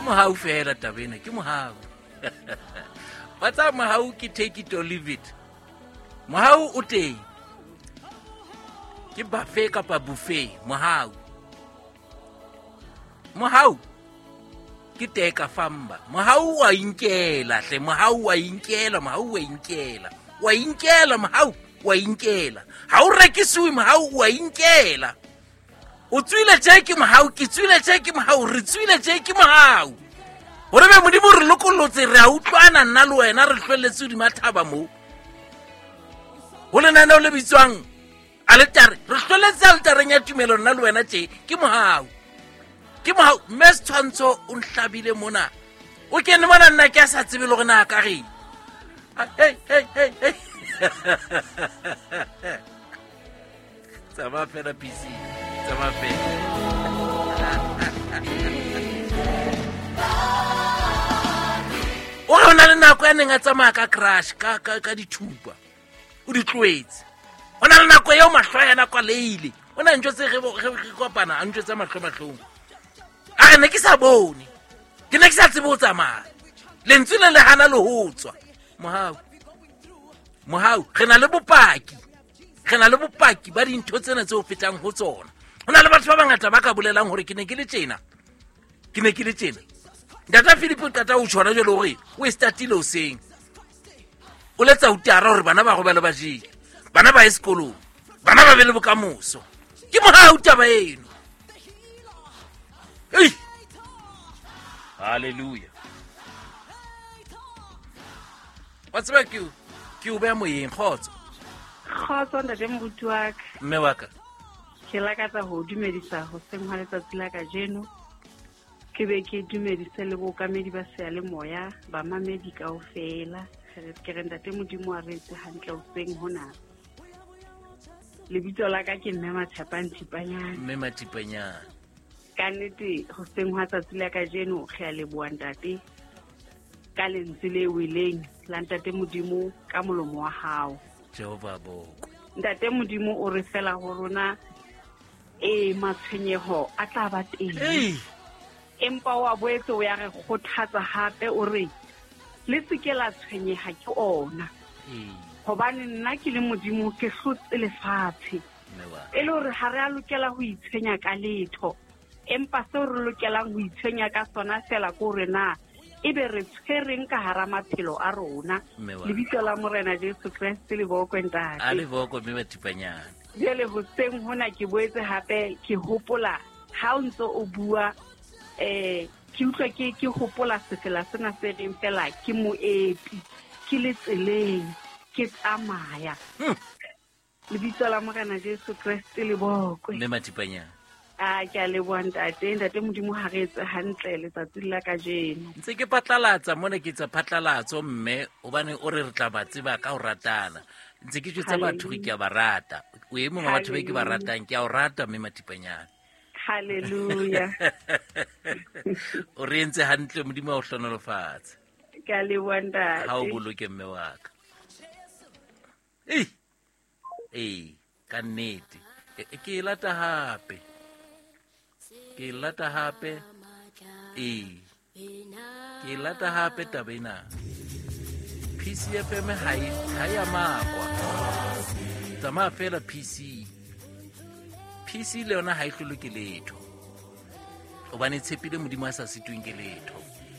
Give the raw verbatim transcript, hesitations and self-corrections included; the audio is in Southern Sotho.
Mohau fela taba ena, ke mohau. Ba tsa mohau ke take it or leave it. Mohau o teng. Ke buffet kapa buffet, mohau. Mohau ke teka famba. Mohau wa inkela hle, mohau wa inkela, mohau wa inkela. Wa inkela mohau, wa inkela. Ha o rekisiwe mohau wa inkela. O tswile tje ke mohau, ke tswile tje ke mohau, re tswile tje ke mohau. Hore be Modimo re lokollotse, re a utlwana nna le wena, re hlwelletse hodima thaba moo. Ho lenaneo le bitswang aletare, re hlwelletse aletareng ya tumelo nna le wena tje, ke mohau. Ke mohau, mme Setshwantsho o nhlabile mona. O kene mona nna ke a sa tsebe le hore na ka reng. Hey, hey, hey, hey. Tsamaya fela P C, tsamaya fela. O re o na le nako ya neng a tsamaya ka crash, ka, ka, ka dithupa. O di tlohetse. O na le nako eo mahlo a yena kwaleile. O na ntho tse re re kopana, a ntho tsa mahlo mahlong. A re ne ke sa bone. Ke ne ke sa tsebe ho tsamaya. Lentswe le le hana le ho tswa. Mohau. Mohau, re na le bopaki. Re na le bopaki ba dintho tsena tse o fetang ho tsona. Ho na le batho ba bangata ba ka bolelang hore ke ne ke le tjena. Ke ne ke le tjena. Ntata Philip o qeta ho tjhona jwale hore o e startile hoseng. O letsa utara hore bana ba robale ba jele. Bana ba ye sekolong. Bana ba be le bokamoso. Ke mohau taba eno. Ei! Hallelujah. Wa tseba ke o, ke o beha moyeng, kgotso. Kgotso ntate moruti wa ka. Mme wa ka. Ke lakatsa ho dumedisa hoseng hwa letsatsi la kajeno. Ke be ke dumedise le bookamedi ba seyalemoya, bamamedi kaofela. Ke re ntate Modimo a re etse hantle hoseng hona. Lebitso la ka ke Mme Matshepang Thipanyane. Mme Mathipanyane. Ka nnete hoseng hwa tsatsi la kajeno re a leboha ntate ka lentswe le weleng la ntate Modimo ka molomo wa hao. Jehova boko. Ntate Modimo o re fela ho rona e matshwenyeho a tla ba teng. Ei. Empa wa boetse o ya re kgothatsa hape o re le se ke la tshwenyeha ke ona. Hobane nna ke le Modimo ke hlotse lefatshe. E le hore ha re a lokela ho itshwenya ka letho. Empa seo re lokelang ho itshwenya ka sona fela ke hore na ebe re tshwereng ka hara maphelo a rona. Lebitso la Morena Jesu Kreste le bokwe ntate. A le bokwe mme Mathipanyane. Jwale hoseng hona ke boetse hape ke hopola ha o ntso o bua eh ke utlwa ke ke hopola sefela sena se reng fela ke moepi ke le tseleng ke tsamaya. Lebitso la Morena Jesu Kreste le bokwe. Mme Mathipanyane. A ke a leboha ntate, ntate Modimo ha re etse hantle letsatsing la kajeno. Ntse ke phatlalatsa mona, ke tsa phatlalatso mme hobane o re re tla ba tseba ka ho ratana. Ntse ke jwetsa batho re ke a ba rata. O e mong wa batho be ke ba ratang, ke a o rata mme Mathipanyane. Hallelujah. O re entse hantle, Modimo a o hlohonolofatse. Ke a leboha ntate. Ha o boloke mme wa ka. Ei. Ei, ka nnete. Ke e lata hape. Ke lata hape. Ee. Ke lata hape taba ena. P C F M ha e ha ya makwa. Tsamaya fela P C. P C le yona ha e hlolwe ke letho. Hobane tshepile Modimo a sa sitweng ke letho.